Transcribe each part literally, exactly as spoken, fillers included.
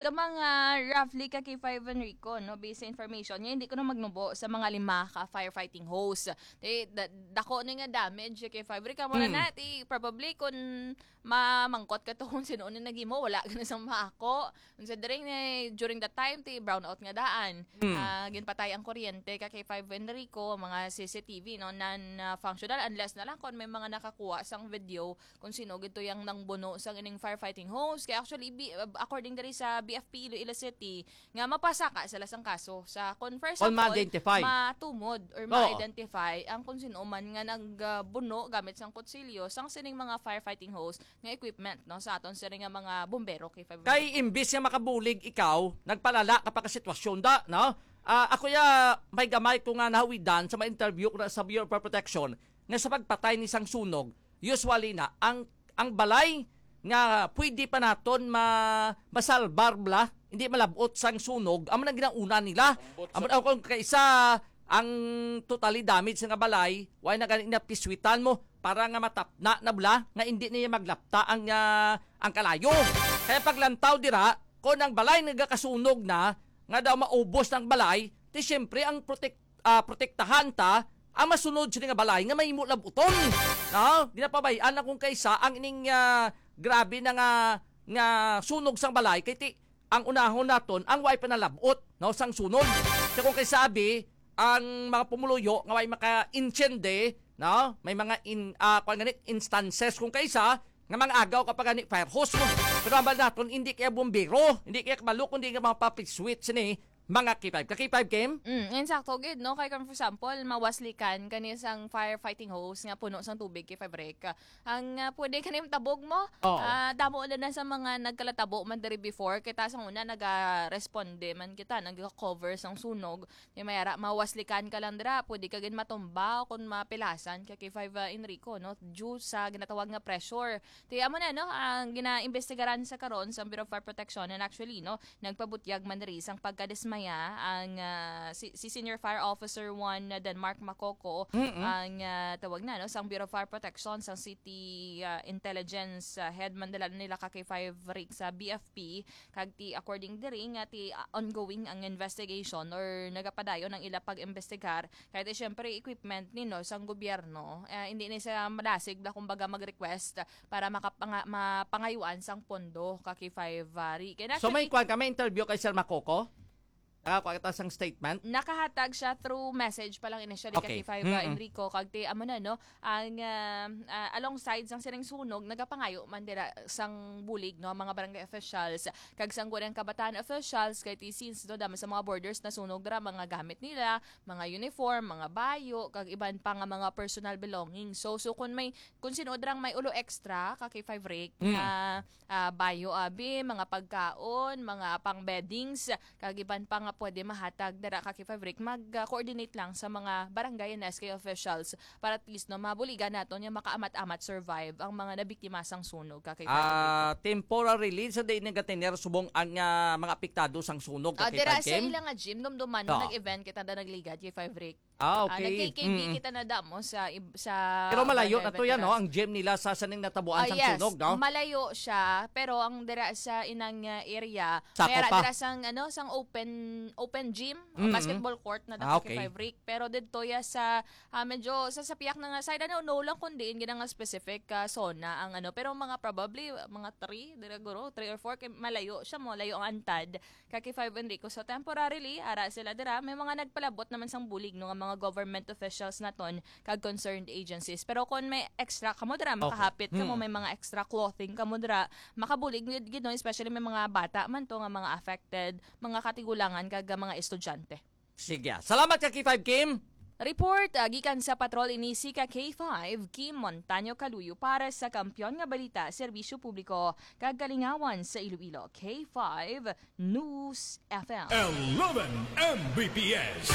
Ka mga roughly ka K five Enrico, no? Based sa information niya, hindi ko na magnubo sa mga lima ka firefighting hose. Ti, da-, dako na nga damage kay five Rick. Amo na Mm. na, ti, probably kung mamangkot ka to kung sino na naghimo, wala ka na sang maako. Considering na, during that time, ti, brownout nga daan. Mm. Ah, ginpatay ang kuryente ka kay five Enrico, mga C C T V, no? Non-functional, unless na lang kung may mga nakakuha sang video kung sino gid to yang nangbuno sang ining firefighting hose. Kay actually, bi-, according diri sa B F P Iloilo City, nga mapasaka sila sang kaso sa, kung first Kung of all, ma-identify. matumod or Oo. ma-identify ang kung sino man nga nagbuno gamit sang kutsilyo sang sining mga firefighting hose nga equipment, no, sa aton sini nga mga bombero kay five Kay imbis nga makabulig ikaw, nagpalala ka pa ka sitwasyon da, no? Ah, ako ya, may gamay ko nga nahawidan sa mga interview ko na sa Bureau of Fire Protection nga sa pagpatay ni sang sunog, usually na ang, ang balay nga pwede pa naton ma-, masalbar bla, hindi malabot sang sunog, amo nang ginauna nila. Ambot sa Amo na kung kaisa ang totally damage nga balay, why na gani napiswitan mo para nga matapna na bla nga hindi niya maglapta ang, ah, ang kalayo. Kaya paglantaw dira, kung ang balay nagakasunog na, nga daw maubos ng balay, ti siyempre ang protect ah, protektahan ta ang masunod sini nga balay nga mahimo labuton. No? Ginapabayaan na kung kaisa ang ining, ah, grabe na nga, nga sunog sang balay kay ti ang unahon naton ang way panalabot, no, sang sunog. So kung kay sabi ang mga pumuluyo nga way maka-intiende, no? May mga in, ah, kuwan gani, instances kung kaisa nga mga agaw ka pa gani fire hose mo. Pero ambal naton hindi kaya bombero, hindi kaya kabalo kundi nga mga public switch ni mga K five. Ka K five game? Mm, insakto gid, no? Kay kung for example, mawaslikan kani sang firefighting hose nga puno sang tubig kay five Rek. Ang, ah, pwede kani tabog mo? Oo. Ah, damo na na sa mga nagkalatabo man diri before. Kita sa una, naga-responde man kita, naga-cover sang sunog. Di mayara, mawaslikan ka lang dira. Pwede ka gid matumba o kung mapilasan kay K five, ah, Enrico, no? Due sa ginatawag nga pressure. Ti amo na, no, ang ginaimbestigaran sa karon sa Bureau of Fire Protection, and actually, no, nagpabutyag man diri sang pagkadismaya ang, ah, si, si Senior Fire Officer one Denmark Macoco, Mm-mm. ang, ah, tawag na, no, sang Bureau of Fire Protection, sang City, ah, Intelligence, ah, Head man dala nila ka K five Rick sa B F P, kag ti according diri nga ti, ah, ongoing ang investigation or nagapadayon ang ila pag-imbestigar, kay ti syempre equipment ni, no, sang gobyerno, ah, hindi ni siya madasig bla kumbaga mag-request para makapanga-, mapangayuan sang pondo ka K five, ah, Rick. And So may actually, kwan ka, may interview kay Sir Makoko? Nakakuha kita sang statement? Nakahatag siya through message pa lang initially ka Okay. K five, ah, Mm-mm. Enrico, kag ti amo na, no, ang, ah, ah, alongside sang sining sunog, nagapangayo man dira sang bulig, no, ang mga barangay officials kag sang Sangguniang Kabataan officials, kay ti since, no, damo sa mga borders nasunog dira, mga gamit nila, mga uniform, mga bayo, kag iban pa nga mga personal belongings. So, so kung may, kung sino drang may ulo extra ka K five Rick, Mm. nga, ah, bayo abi, mga pagkaon, mga pang beddings, kag iban pa nga pwede mahatag dira ka K five Rick, mag-coordinate lang sa mga barangay and S K officials para at least, no, mabuligan naton nga makaamat-amat survive ang mga nabiktima sang sunog ka K five Rick. Ah, temporary relief sa di nagatener subong ang, ah, mga apektado sang sunog ka Ah, K five dira sa Kim? Ila nga gym, dumduman mo, Oo. nag-event kita na nagligad kay five Rick. Ah, Ah, okay. nag-K K B Mm. kita na damo sa ib-, sa Pero malayo barangay na to yan, no? veterans. Ang gym nila sa saning natabuan Ah, sang yes. sunog, no? Malayo siya, pero ang dira sa inang, uh, area, Sako may ara pa. dira sang, ano, sang open, open gym, uh, Mm-mm. basketball court na Ah, dako okay. kay five Rick. Pero didto ya sa, ah, medyo sa, sa piyak na nga side, ano, no lang kung diin gina nga specific, ah, zona ang, ano, pero mga probably, mga three, dira guro, three or four, kay malayo siya, mo, layo ang antad. Kaki five Enrico. So, temporarily, ara sila dira. May mga nagpalabot naman sang bulig, no, nga mga government officials naton kag concerned agencies. Pero kung may extra kamo dira, Okay. makahapit kamo, Mm. may mga extra clothing kamo dira, makabulig gid, gid, no, especially may mga bata man to nga mga affected, mga katigulangan kag mga estudyante. Sige. Salamat, Kaki five Kim. Report, ah, gikan sa Patrol ini si ka K five, Kim Montaño Caluyo para sa Kampiyon nga Balita, Serbisyo Publiko, kag Kalingawan sa Iloilo, K five News F M. Eleven M B P S.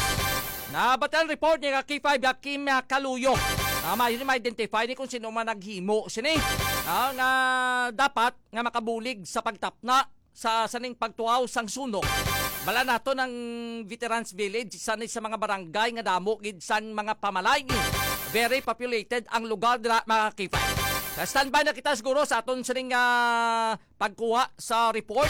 Nabatian report ni ka K five, Kim, ah, Caluyo. Ah, may, ma-identify ni kung sino man naghimo sini. Ah, nga dapat nga makabulig sa pagtapna sa, sa ning pagtuaw sang sunog. Bala nato ng Veterans Village, isa ni sa mga barangay nga damo gid sang mga pamalay. Very populated ang lugar dira, mga K five. Sa standby na kita siguro sa aton sining, ah, pagkuha sa report.